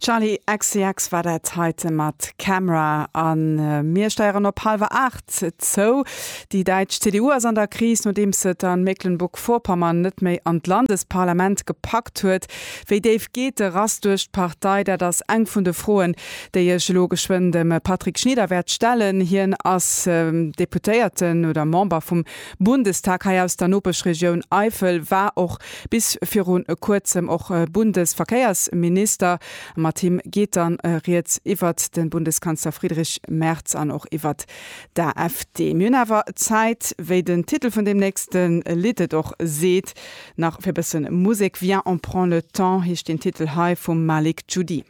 Charli XCX war dat heite mat Camera. A mir steieren op hallwer 8 zou. Déi däitsch CDU ass an der Kris, nodeems se et a Mecklenburg-Vorpommern net méi an d'Landesparlament gepackt huet. Wéi déif geet de Rass duerch d'Partei? Dat ass eng vun de Froen, déi ech elo geschwënn dem Patrick Schnieder wäert stellen. Hien ass Deputéierten oder Member vum Bundestag hei aus der Nopeschregioun Eifel, war och bis viru kuerzem och Bundesverkéiersminister. Mat him geet dann rieds iwwert de Bundeskanzler Friedrich Merz an och iwwert d'AfD. Mir hunn awer Zäit, wéi den Titel vun deem nächste Lidd et och seet, nach fir e bësse Musek. Viens on prend le temps heescht den Titel hei vum Malik Djoudi.